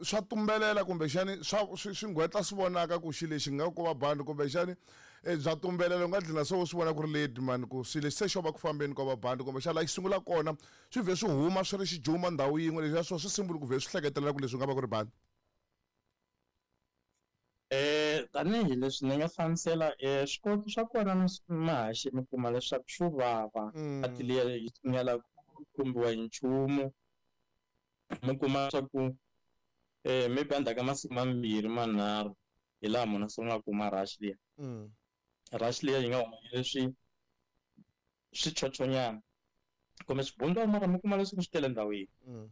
Swa tumbelela kumbexani swa swi swi nghwetla swi vonaka ku xilo lexi nga ku va bandi kumbexani eh, bya tumbelela u nga dlina se u swi vona ku ri lady mani ku xilo lexi se xo va ku fambeni ko va bandi kumbexani laha xi sungula kona swi vhe swi huma swi ri xijuma ndhawu yin'we leswiya swo swi simbuli ku vhe swi hleketelela ku leswi nga va ku ri bandi. Tanihi leswi ni nga hlamusela swikoweto swa kona mahaxi mi kuma leswaku swo vava a ti liya yi nga lavi ku khumbiwa hi nchumu. Mi kuma swa ku maybe endzhaku ka masiku mambirhi manharhu hi laha munhu a sungulaka ku huma rash liya. Rash liya yi nga huma yi ri swi swichochonyana kumbe swibundwana mara mi kuma leswaku swi tele ndhawu yin'we.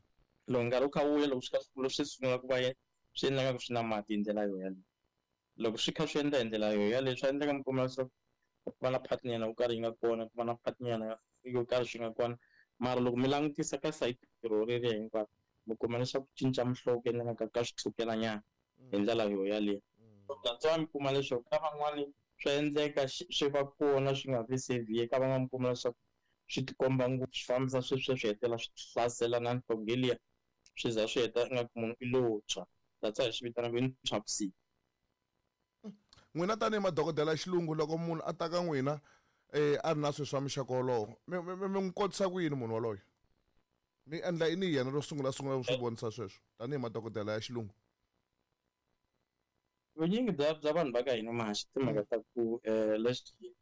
Loko nkarhi wu kha wu ya loko swi kha swi kula swi sungula ku va swi endla nga ku swi na mati hi ndlela yo yaleyo. Loko swi kha swi endla hi ndlela yo yaleyo swa endleka mi kuma leswaku ku va na part nyana yo karhi yi nga kona ku va na part nyana yo karhi swi nga kona mara loko mi langutisa ka sayiti ro reriya hinkwaro mi kuma leswaku cinca muhlovo ku endla ka ka swi tshukela nyana hi ndlela yo yaleyo. That's why mi kuma leswaku ka van'wani swa endleka swi va kona swi nga vi severe ka van'wani mi kuma leswaku swi tikomba ngopfu swi fambisa sweswiya swi hetelela swi hlasela na nhlonge liya swi za swi heta ingaku munhu i lo tshwa that's why hi swi vitanaka i ntshwavusiku. N'wina tanihi madokodela ya xilungu loko munhu a ta ka n'wina a ri na swilo swa muxaka wolowo mi mi mi n'wi kotisa ku yini munhu woloye mi endla yini hi yena ro sungula sungula ku swi vonisa sweswo tanihi madokodela ya xilungu. Vunyingi bya bya vanhu va ka hina mahaxi timhaka ta ku leswi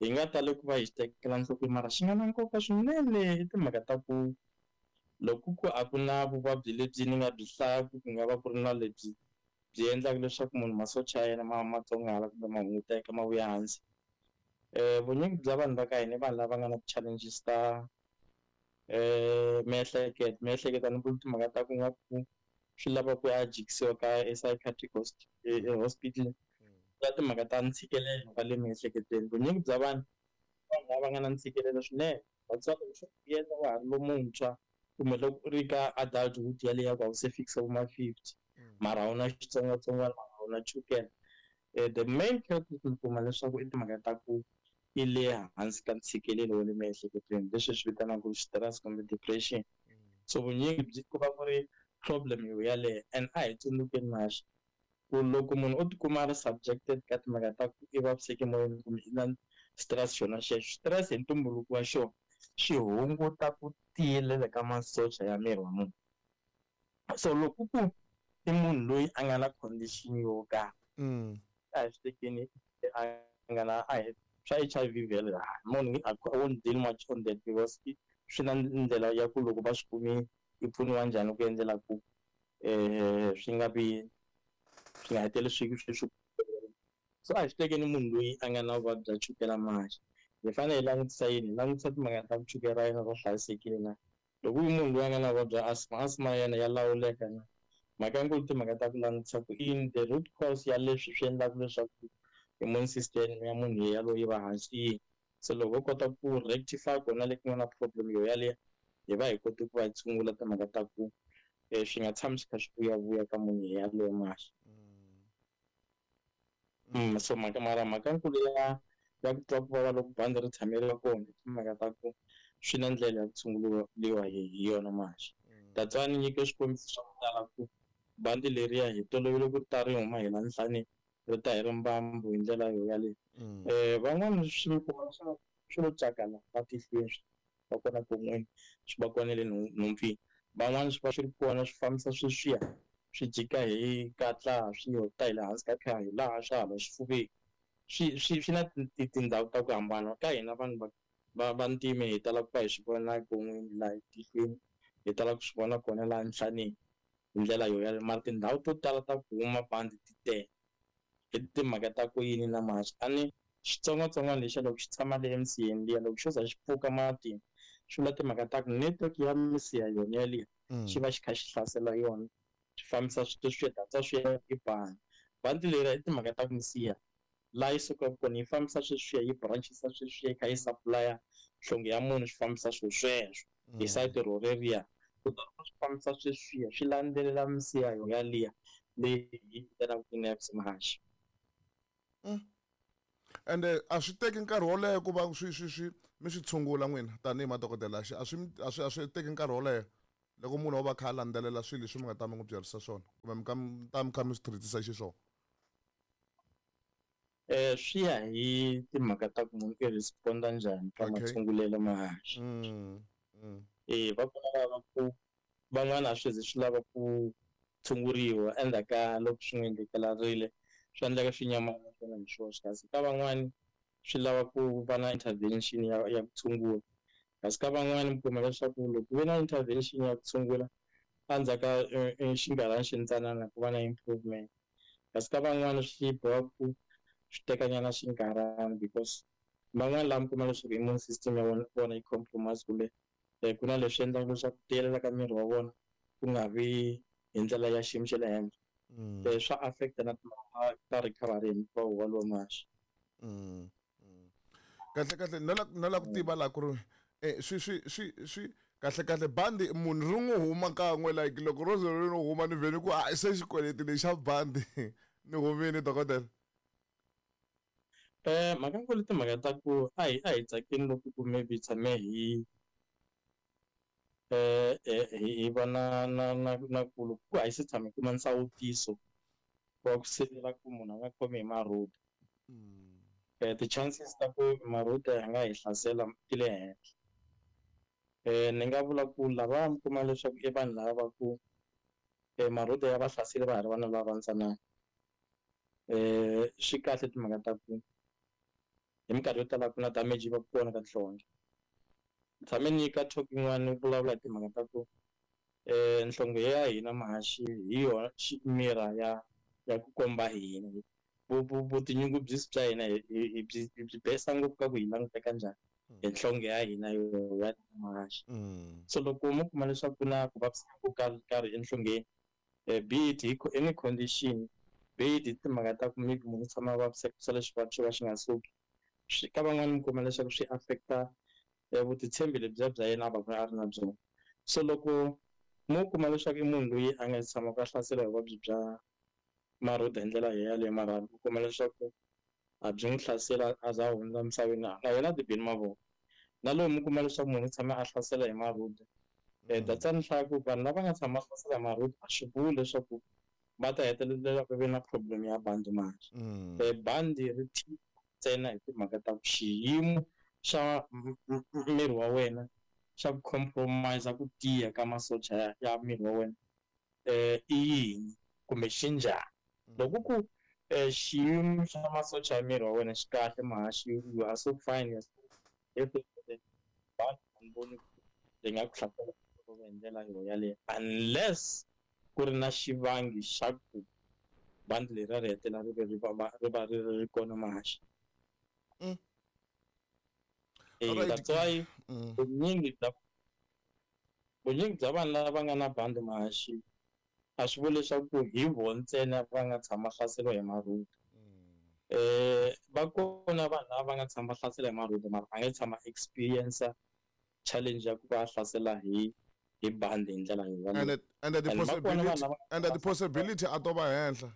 hi nga tali ku va hi xi tekela enhlokweni mara xi nga na nkoka swinene i timhaka ta ku loko ku a ku na vuvabyi lebyi ni nga byi hlayaku ku nga va ku ri na lebyi byi endlaka leswaku munhu masocha ya yena ma ma tsongwahala kumbe ma hunguteka ma vuya hansi. Vunyingi bya vanhu va ka hina i vanhu lava nga na ti-challenges ta miehleketo miehleketo a ni vuli timhaka ta ku nga ku swi lava ku ya jikisiwa ka e-psychiatric hospital na timhaka ta ntshikelelo wa le miehleketweni. Vunyingi bya vanhu vanhu lava nga na ntshikelelo swinene vatswari loko swo endla wa ha ri lomuntshwa kumbe loko u ri ka adulthood yaleyo ya ku a wu se fikisa vo ma-50 mara a wu na xitsongwatsongwana mara a wu na chukele. The main culprit mi kuma leswaku i timhaka ta ku i le hansi ka ntshikelelo wa le miehleketweni leswi hi swi vitanaka stress kumbe depression. So vunyingi byi ku va ku ri problem yo yaleyo and a hi tsundzukeni maxa ku loko munhu o tikuma a ri subjected ka timhaka ta ku i vaviseke moyeni kumbe i na stress xona xexo stress hi ntumbuluko wa xona xi hunguta ku tiyelela ka masocha ya miri wa munhu. So loko ku i munhu loyi a nga na condition yo karhi a hi swi tekeni a nga na a hi swa H_I_V vhele munhu I won't deal much on that because swi na ndlela ya ku loko va swi kumile yi pfuniwa njhani ku endlela ku swi nga vi swi nga heteleli swi swi swi so a hi swi tekeni munhu loyi a nga na vuvabyi bya chukela manje hi fanele hi langutisa yini hi langutisa timhaka ta ku chukela ra yena ra hlayisekile na loko u munhu loyi a nga na vuvabyi bya asthma asthma ya yena ya lawuleka na mhaka ya nkulu timhaka ta ku langutisa ku i yini the root cause ya leswi swi endlaka leswaku immune system ya munhu yaloye yi va hansi yini se loko ho kota ku rectify kona le ku nga na problem yo yaleyo hi va hi kote ku va hi tshungula timhaka ta ku swi nga tshami swi kha swi vuyavuya ka munhu yaloye mahle. So mhaka mara mhaka nkulu ya ya ku twa ku vava loko bandi ri tshameriwa kona i timhaka ta ku swi na ndlela ya ku tshunguriwa hi hi yona manje. That's why ni nyike swikombiso swa ku tala ku bandi leriya hi tolovele ku ta ri huma hi la nhlaneni ri ta hi ri mbambu hi ndlela yo yaleyo. Van'wani swi kuma swi swi lo cakala matihlweni swi va kona pon'weni swi va kona le nhompfini van'wani swi va swi ri kona swi fambisa sweswiya swi jika hi katla swi yo ta hi le hansi ka kha hi laha swa hala xifuveni swi swi swi na tindhawu ta ku hambana ka hina vanhu va va vantima hi tala ku va hi swi vona pon'weni laha etihlweni hi tala ku swi vona kona laha nhlaneni hi ndlela yo yaleyo mara tindhawu to tala ta ku huma bandi ti tele hi timhaka ta ku yini na manje a ni xitsongwatsongwana lexiya loko xi tshama le emisiheni liya loko xo za xi pfuka matini swi vula timhaka ta ku network ya misiha yona yaliya xi va xi kha xi hlasela yona swi fambisa sweswiya that's why swi ya i bandi bandi leri i timhaka ta ku misiha laha yi sukaka kona yi fambisa sweswiya yi branchisa sweswiya yi kha yi supply nhlonge ya munhu swi fambisa swilo sweswo hi sayiti ro reriya kutani swi fambisa sweswiya swi landzelela misiha yo yaliya leyi hi vitanaka ti-nerves mahaxi. Ende a swi teki nkarhi wo leha ku va swi swi swi mi swi tshungula n'wina tanihi madokodela a swi a swi a swi teki nkarhi wo leha. Loko munhu o va kha a landzelela swilo leswi mi nga ta mi n'wi byerisa swona kumbe mi ka mi ta mi kha mi swi treat-isa xiswona. Swi ya hi timhaka ta ku munhu i respond-a njhani ka matshungulelo ma haxa. Va kona lava ku van'wana a swi ze swi lava ku tshunguriwa endzhaku ka loko swi n'wi endlekelarile, swi endleka swi nyamalala swona hi swoxe, kasi ka van'wani swi lava ku va na intervention ya ku tshungula, kasi ka van'wani mi kuma leswaku loko ku ve na intervention ya ku tshungula endzhaku ka xinkarhana xintsanana ku va na improvement, kasi ka van'wani swi boha ku swi tekanyana xinkarhana because van'wani lava mi kuma leswaku immune system ya vona yi compromise kumbe ku na leswi endlaka leswaku tiyelela ka miri wa vona ku nga vi hi ndlela ya xiyimo xa le henhla. Swa affect-a na timhaka ta recovery hinkwawo walowo maxa. Kahle kahle no la ku tiva la ku ri swi swi swi swi kahle kahle bandi munhu ri n'wi huma kan'we, like loko ro ze ri n'wi huma ni vhele ku a se xikweleti lexa bandi ni humile, dokodela. Mhaka nkulu timhaka ta ku a hi tsakeni loko ku maybe tshame hi va na ku loko ku a hi se tshama hi kuma nsawutiso wa ku sivela ku munhu a nga khomi hi marhuda, ti-chances ta ku marhuda ya nga hi hlasela ti le henhla. Ni nga vula ku lava mi kuma leswaku i vanhu lava va ku marhuda ya va hlaseli va ha ri vana lava ntsanana, swi kahle timhaka ta ku hi minkarhi yo tala ku na damage yi va kona ka nhlonge. Tshame ni ka talk yin'wana ni vulavula hi timhaka ta ku nhlonge ya hina mahaxi hi yona mirror ya ku komba hina vutinyungubyisi bya hina, hi byi besa ngopfu ka ku hi languteka njhani hi nhlonge ya hina yo ya mahaxi. So loko mo kuma leswaku ku na ku vaviseka ko karhi enhlongeni, be it hi any condition, be it hi timhaka ta ku maybe munhu u tshama a vaviseka swa le xivati xo ka xi nga suki, swi ka van'wani mi kuma leswaku swi affect-a vutitshembi lebyiya bya yena a va a ri na byona. So loko mo kuma leswaku i munhu loyi a nga tshamaka a hlaseriwa hi vuvabyi bya marhuda hi ndlela yaleyo, mara u kuma leswaku a byi n'wi hlasela a za a hundza emisaveni, na yena a ti bini mavoko. Na loko mi kuma leswaku munhu u tshame a hlasela hi marhuda, that's why ni hlaya ku vanhu lava nga tshama hlasela hi marhuda a swi vuli leswaku va ta hetelela va ve na problem ya bandi manje. Bandi ri ntsena hi timhaka ta ku xiyimo xa miri wa wena xa ku compromise ku tiya ka masocha ya miri wa wena i yini kumbe xi njhani. Loko ku xiyimo xa masocha ya miri wa wena xi kahle mahaxi, you are so fine, you are so bandi a ni voni ri nga ku hlasela hi ndlela yo yaleyo unless ku ri na xivangi xa ku bandi leriya ri hetelela ri ve ri va ri ri kona mahaxi. That's why vunyingi bya vanhu lava nga na bandi mahaxi a swi vuli leswaku hi vona ntsena va nga tshama hlaseriwa hi marhuda. Va kona vanhu lava va nga tshama hlasela hi marhuda mara a nga tshama experience challenge ya ku va hlasela hi bandi hi ndlela yo. And the possibility and the possibility a to va henhla.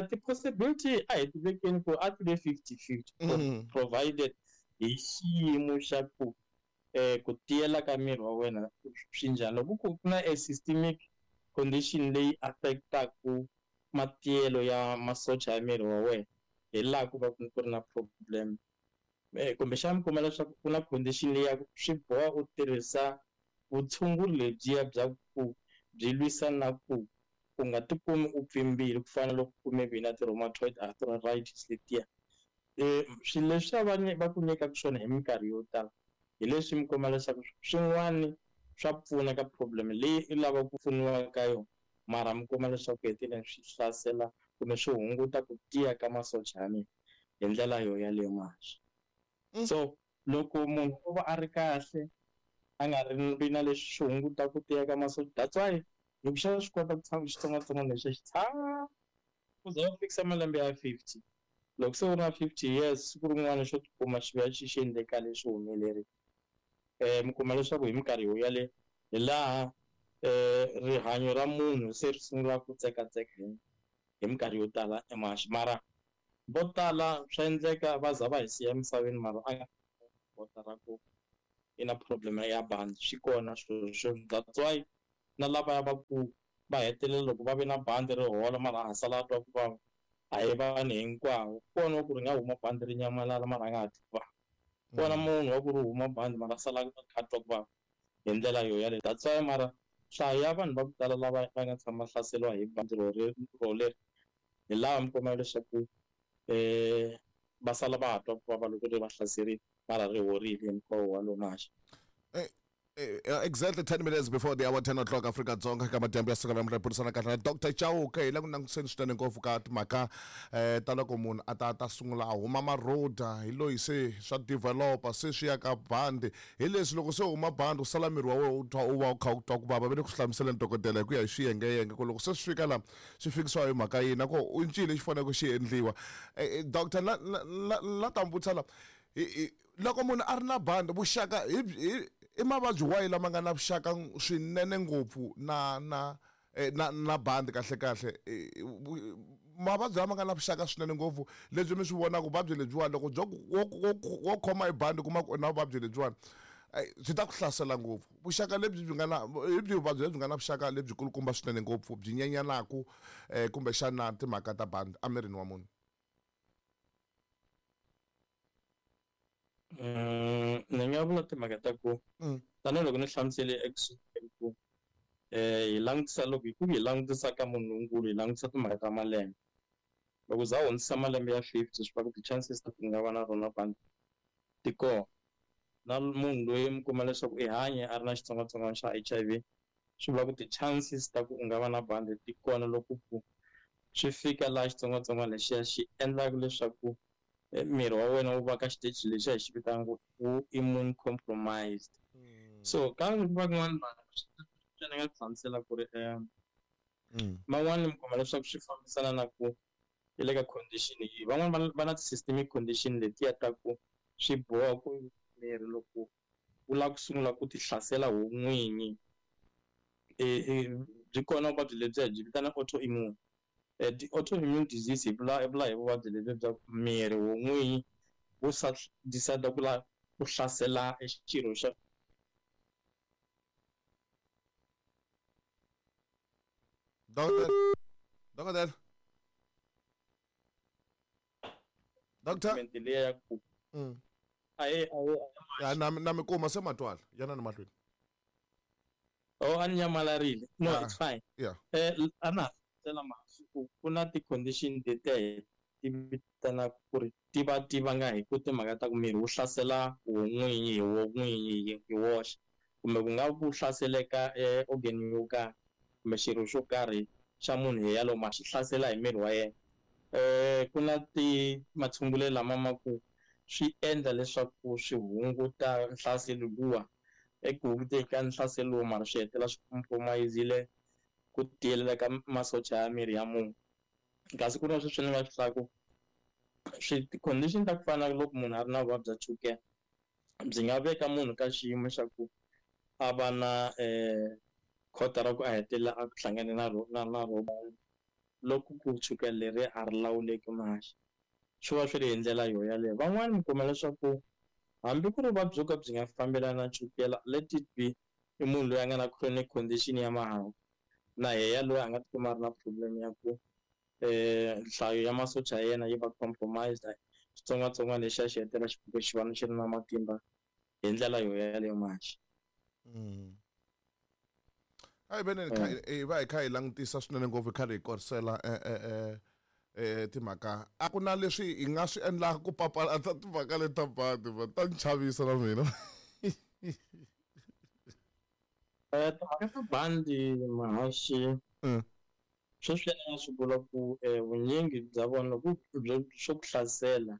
Ti-possibility a hi tivekeni ku a ti ve 50-50, provided hi xiyimo xa ku ku tiyela ka miri wa wena swi njhani. Loko ku na a systemic condition leyi affect-aku matiyelo ya masocha ya miri wa wena, hi laha ku va ku ri na problem. Kumbexana mi kuma leswaku ku na condition leyi ya ku swi boha u tirhisa vutshunguri lebyiya bya ku byi lwisana na ku u nga tikumi u pfimbile, ku fana na loko ku maybe na ti-rheumatoid arthritis letiya. Swilo leswiya va ku nyikaka swona hi minkarhi yo tala hi leswi mi kuma leswaku swin'wani swa pfuna ka problem leyi i lavaka ku pfuniwa ka yona, mara mi kuma leswaku heteleleni swi hlasela kumbe swi hunguta ku tiya ka masocha ya miri hi ndlela yo yaleyo mahaxi. So loko munhu o va a ri kahle, a nga ri vi na leswi swi hunguta ku tiya ka masocha, that's why loko xa swi kota ku tshama xitsongwatsongwana lexi xi tshama ku za u fikisa malembe ya 50. Loko se u ri na 50 years, siku rin'wana xo tikuma xi vuya xi endleka leswi humelerile, mi kuma leswaku hi minkarhi yo yaleyo hi laha rihanyo ra munhu se ri sungula ku tsekatseka hi minkarhi yo tala emaxi. Mara vo tala swa endleka va za va hi siya emisaveni mara a nga kota ra ku i na problem ya bandi. Swi kona swilo, that's why na lavaya va ku va hetelela loko va ve na bandi ri hola mara a sala a twa ku vava, a hi vanhu hinkwavo. Kona wa ku ri nga huma bandi ri nyamalala mara a nga ha twi ku vava, kona munhu wa ku ri huma bandi mara a sala a kha a twa ku vava hi ndlela yo yaleyo. That's why mara nhlayo ya vanhu va ku tala lava va nga tshama hlaseriwa hi bandi roleri hi laha mi kuma leswaku va sala va ha twa ku vava loko ri va hlaserile mara ri horile hinkwawo walowo maxa. Exactly 10 minutes before the hour 10 o'clock Afrika Dzonga ka madyambu ya siku namuntlha hi burisana kahle na Dr. Chauke hi le ku langutiseni swinene ngopfu ka timhaka ta loko munhu a ta sungula a huma maroda hi loyi se swa developer se swi ya ka bandi hi leswi loko se huma bandi u sala miri wa wena u twa u va u kha u twa ku vava. Va le ku swi hlamuseleni dokodela hi ku ya hi swiyengeyenge ku loko se swi fika la swi fikisiwa hi mhaka yini na ku i ncini lexi faneleke xi endliwa. Doctor la ta mi vutisa la loko munhu a ri na bandi vuxaka hi i mavabyi wahi lama nga na vuxaka swinene ngopfu na na na na bandi kahle kahle mavabyi lama nga na vuxaka swinene ngopfu lebyi mi swi vonaka vuvabyi lebyiwani loko byo wo khoma hi bandi kuma ku u na vuvabyi lebyiwani byi ta ku hlasela ngopfu. Vuxaka lebyi byi nga na hi byi vuvabyi lebyi nga na vuxaka lebyi kulukumba swinene ngopfu byi nyenyanaku kumbexana timhaka ta bandi emirini wa munhu? Ni nga vula timhaka ta ku tanihiloko ni hlamusele ekusunguleni ku hi langutisa loko hi ku hi langutisa ka munhu lonkulu hi langutisa timhaka ta malembe. Loko za hundzisa malembe ya 50 swi va ku ti-chances ta ku nga va na rona bandi ti kona. Na munhu loyi mi kuma leswaku i hanye a ri na xitsongwatsongwana xa HIV swi vula ku ti-chances ta ku u nga va na bandi ti kona loko ku swi fika laha xitsongwatsongwana lexiya xi endlaka leswaku miri wa wena wu va ka xiteji lexiya hi xi vitanaka ku immune compromised. So ka van'wani vanhu swi ni nga hlamusela ku ri man'wani mi kuma leswaku swi fambisana na ku i le ka condition yihi. Van'wani va na ti-systemic condition letiya ta ku swi boha ku miri loko wu lava ku sungula ku ti hlasela ho n'winyi byi kona vuvabyi lebyiya byi vitana autoimmune. Ti-autoimmune disease hi vula hi vuvabyi lebyi bya miri wo n'winyi wu decide ku lava ku hlasela xirho xa Dokodela Doctor liya ya ku ahe ya na mi kuma se matwala yana ni mahlweni. Oh a ni nyamalarile. No, it's fine. Yeah. A na hlamusela masiku ku na ti-condition letiya hi ti vitanaka ku ri ti va ti vanga hi ku timhaka ta ku miri wu hlasela wo n'winyi hi wo n'winyi hi woxe kumbe ku nga ku hlaseleka organ yo karhi kumbe xirho xo karhi xa munhu hi yalowo ma xi hlasela hi miri wa yena. Ku na ti matshungulelo lama ma ku swi endla leswaku swi hunguta nhlaselo luwa eku hunguteni ka nhlaselo lowu mara swi hetelela swi compromise-ile ku tiyelela ka masocha ya miri ya munhu. Kasi ku na sweswi ni nga swi hlaku swi ti-condition ta ku fana na loko munhu a ri na vuvabyi bya chukele byi nga veka munhu ka xiyimo xa ku a va na khota ra ku a hetelela a hlangane na na na loko ku chukele leri a ri lawuleki maxa swi va swi ri hi ndlela yo yaleyo. Van'wani mi kuma leswaku hambi ku ri vuvabyi byo ka byi nga fambelani na chukela let it be i munhu loyi a nga na chronic condition ya mahawu na yehe loyi a nga tikuma a ri na problem ya ku nhlayo ya masocha ya yena yi va compromised xitsongwatsongwana lexiya xi hetelela xi fika xi va xi ri na matimba hi ndlela yo yaleyo maxa. A hi veni hi va hi kha hi langutisa swinene ngopfu hi karhi hi korisela timhaka a ku na leswi hi nga swi endlaka ku papalata timhaka leti ta bandi ta ni chavisa na mina. Timhaka ta bandi mahaxi sweswi ni nga swi vula ku vunyingi bya vona loko swo ku hlasela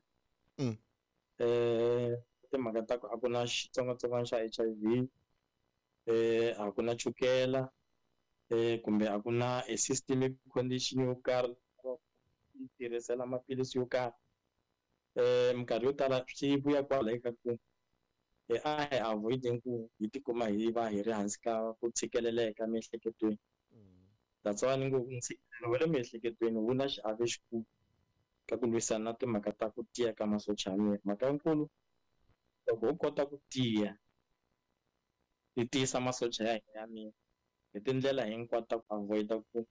timhaka ta ku a ku na xitsongwatsongwana xa HIV a ku na chukela kumbe a ku na a systemic condition yo karhi yi tirhisela maphilisi yo karhi minkarhi yo tala swi vuya kwala eka ku a hi avoid-eni ku hi tikuma hi va hi ri hansi ka ku tshikeleleka emiehleketweni. That's why ni ngo ntshikelelo wa le miehleketweni wu na xiave xikulu ka ku lwisana na timhaka ta ku tiya ka masocha ya miri. Mhaka nkulu loko ho kota ku tiya Hi tiyisa masocha ya hina ya miri hi tindlela hinkwato ta ku avoid-a ku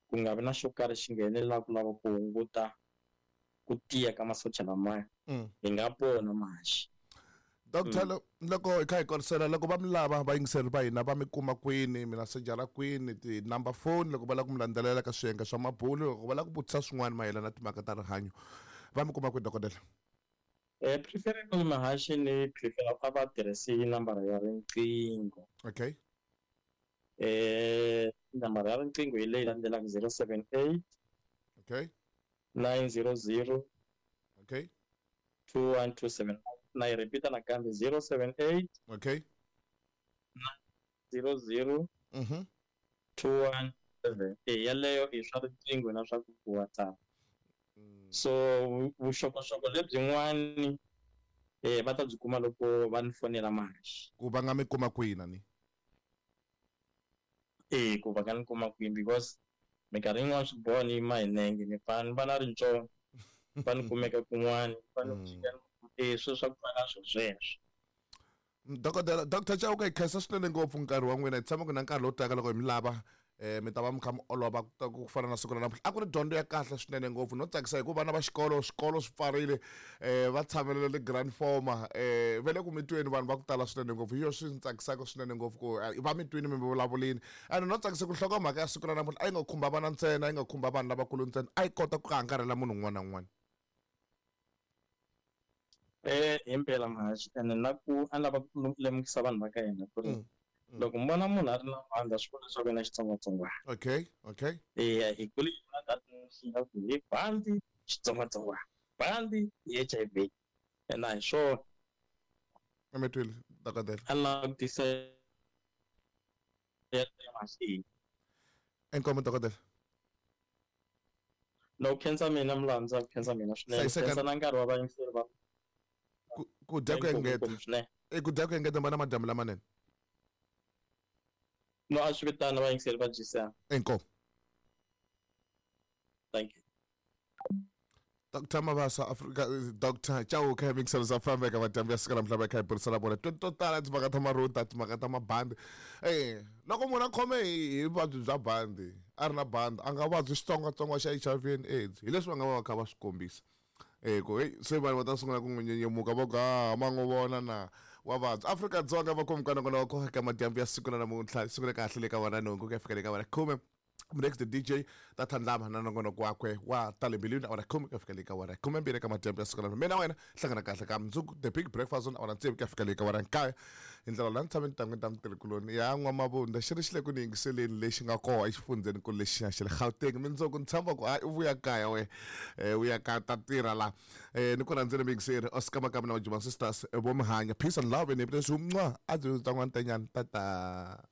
ku nga vi na xo karhi xi nghenelelaka ku lava ku hunguta ku tiya ka masocha lamaya. Hi nga pona Mahaxi. Doctor, loko hi kha hi korisela, loko va mi lava vayingiseri va hina, va mi kuma kwini? Mi na sejara kwini, ti-number phone, loko va lava ku mi landzelela ka swiyenge swa mabulu, loko va lava ku vutisa swin'wana mayelana na timhaka ta rihanyo, va mi kuma kwini, dokodela? Preferably Mahaxi, ni prefer a va tirhisi nambara ya riqingho. Okay. Nambara ya riqingho hi leyi landzelaka: 078 900 2127. Na yi repeat nakambe: 078 00 217. E yaleyo i swa riqingho na swa ku WhatsApp. So vuxokoxoko lebyin'wani va ta byi kuma loko va ni fonela, Mahaxi. Ku va nga mi kuma kwini ni? E ku va nga ni kuma kwini, because minkarhi yin'wana swi boha ni yima hi nenge, ni pfa ni va na rintsongo, va ni kumeka kun'wani, va ni fika e swilo swa ku fana na swo sweswo. Dokodela Dr Chauke, hi khensa swinene ngopfu nkarhi wa n'wina. Hi tshama ku na nkarhi lowu taka loko hi mi lava, mi ta va mi kha mi olova ku fana na siku ra namuntlha. A ku ri dyondzo ya kahle swinene ngopfu no tsakisa, hikuva vana va xikolo, swikolo swi pfarile, va tshamelele le grand forma, va le ku mi tweni vanhu va ku tala swinene ngopfu. Hi yo swi ndzi tsakisaka swinene ngopfu ku va mi twini mi vulavulini. Ene no tsakisa ku nhlokomhaka ya siku ra namuntlha a yi nga khumba vana ntsena, a yi nga khumba vanhu lavakulu ntsena, a yi kota ku angarhela munhu un'wana na un'wana. Himpela Mahaxi, ene na ku a ni lava ku lemukisa vanhu va ka hina ku ri loko mi vona munhu a ri na bandi, a swi vuli leswaku i na xitsongwatsongwana. Eya, hi kule hi vona that ku hi bandi xitsongwatsongwana, bandi hi HIV, ene a hi swona. Mi twile, dokodela. A ni lava ku tisa Mahaxi. Inkomu, dokodela. No khensa mina, Mulandza, ku khensa mina swinene. Hlayiseka. Khensa na nkarhi wa vayingiseri va Ku dya ku engeta. Inkomu swinene. I ku dya ku engeta, mbana madyambu lamanene. No, a swi vitana vayingiseri va GCM. Inkomu. Thank you. Dr Mabasa Africa, Dr Chauke, mixer za fambeka madyambu ya siku namuntlha, va kha hi burisana vona to tala timhaka ta maruta, timhaka ta mabandi. Loko munhu a khome hi vuvabyi bya bandi, a ri na bandi, a nga vabyi xitsongwatsongwana xa HIV and AIDS, hi leswi va nga va va kha va swi kombisa. Ku hey, se vanhu va ta sungula ku n'wi nyenyemuka, va ku ha ma n'wi vona na wa vabya. Afrika-Dzonga va khomi kona wa koka madyambu ya siku ra namuntlha, siku ra kahle le ka vona nhungu ku ya fika le ka vona 10. Next, the DJ ta tlhandlama na nongonoko wakwe wa tale mbilwini, awara 10 ku ya fika le ka awara 12 ka madyambu ya siku ra mina. Wena hlangana kahle ka mundzuku, The Big Breakfast on awara 6 ku ya fika le ka awara 9. Hi ndlela laha ni tshame ni tangwini ta mutirhikuloni ya N'wamavunda, xi ri xi le ku ni yingiseleni lexi nga koho exifundzeni kulu lexiya xa le Gauteng. Mindzuku ni tshemba ku hayi u vuya kaya we, u ya kaya ta tirha la. Ni ku rhandzeni muyingiseri Oscar Makamu na Majuma Sisters vo mi hanya. Peace and love and happiness. Mwa a byi ta n'wantenyani tata.